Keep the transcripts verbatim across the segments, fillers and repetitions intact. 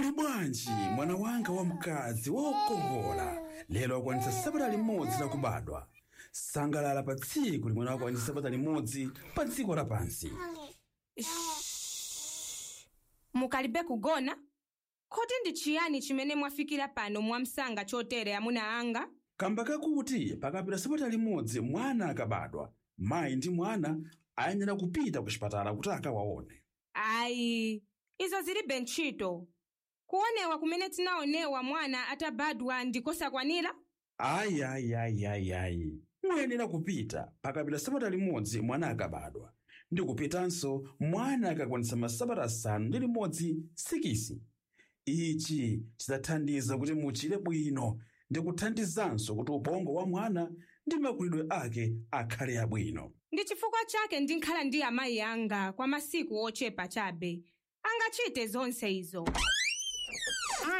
Muli bwanji mwana wanga wamkazi wokongola lero akwanitsa sabata limodzi lakubadwa. Sangalala pa tsiku limene akwanitsa sabata limodzi pa dziko lapansi. Mukalibe kugona? Kodi ndi chiyani chimene mwafikira pano mwamsanga chotere, amuna anga? Kamba kakuti pakapita sabata limodzi mwana akabadwa, mayi ndi mwana ayenera kupita ku chipatala kuti akawaone. Ayi, izo zilibe ntchito. Kuonewa kumene tinaonewa mwana atabadwa ndikosakwanira? Ayi, ayi, ayi, ayi, ayi, muyenera kupita pakapita sabata limodzi mwana akabadwa, ndi kupitanso mwana akakwanitsa masabata asanu ndi limodzi, sikisi. Ichi chidzathandiza kuti muchire bwino ndi kuthandizanso kuti ubongo wa mwana ndi makulidwe ake akhale abwino. Ndi chifukwa chake ndinkhala ndi amayi anga kwa masiku ochepa chabe. Angachite zonse izo.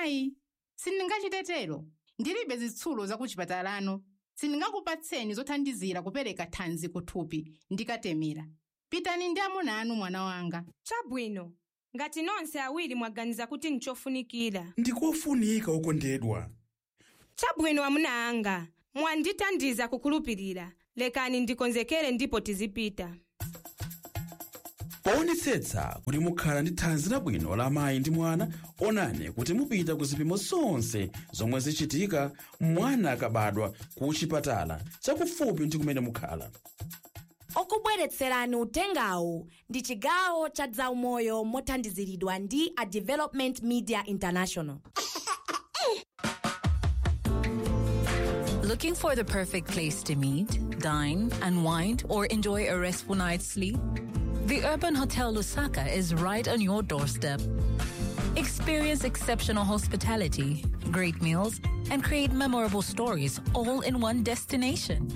Ayi, sindingachitetero. Ndilibe zitsulo zakuchipatalano. Sindingakupatseni zothandizira kupereka thanzi kuthupi ndikatemera. Pitani ndi amuna anu, mwana wanga. Chabwino, ngati nonse awiri mwaganiza kuti nchofunikira. Ndikofunika, okondedwa. Chabwino, amuna anga, mwandithandiza kukhulupirira. Lekani ndikonzekere ndipo tizipita. Poonetsetsa kuti mukhala ndi thanzi labwino la mayi ndi mwana, onani kuti mupita ku zipimo zonse zomwe zichitika mwana akabadwa ku chipatala chakufupi ndi kumene mukhala. Okubweretserani utengawu ndi chigawo cha zaumoyo mothandiziridwa ndi a Development Media International. Looking for the perfect place to meet, dine, unwind, or enjoy a restful night's sleep? The Urban Hotel Lusaka is right on your doorstep. Experience exceptional hospitality, great meals, and create memorable stories all in one destination.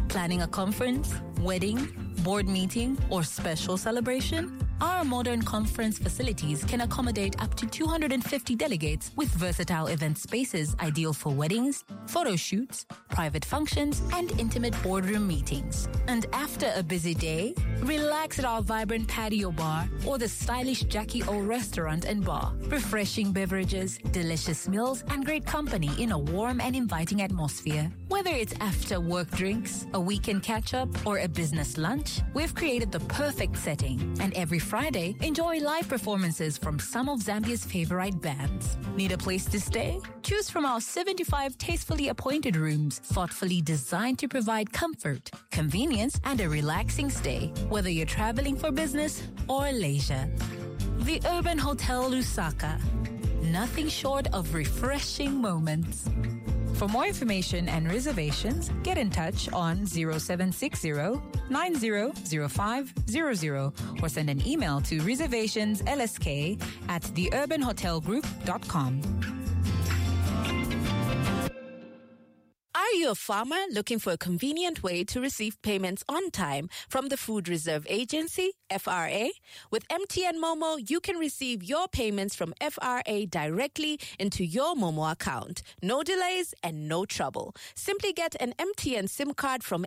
Planning a conference, wedding, board meeting, or special celebration? Our modern conference facilities can accommodate up to two hundred fifty delegates with versatile event spaces ideal for weddings, photo shoots, private functions, and intimate boardroom meetings. And after a busy day, relax at our vibrant patio bar or the stylish Jackie O restaurant and bar. Refreshing beverages, delicious meals, and great company in a warm and inviting atmosphere. Whether it's after work drinks, a weekend catch up, or a business lunch, we've created the perfect setting. And every Friday, enjoy live performances from some of Zambia's favorite bands. Need a place to stay? Choose from our seventy-five tastefully appointed rooms, thoughtfully designed to provide comfort, convenience, and a relaxing stay, whether you're traveling for business or leisure. The Urban Hotel Lusaka. Nothing short of refreshing moments. For more information and reservations, get in touch on zero seven six zero nine zero zero five zero zero or send an email to reservationslsk at theurbanhotelgroup dot com. Are you a farmer looking for a convenient way to receive payments on time from the Food Reserve Agency, F R A? With M T N Momo, you can receive your payments from F R A directly into your Momo account. No delays and no trouble. Simply get an M T N SIM card from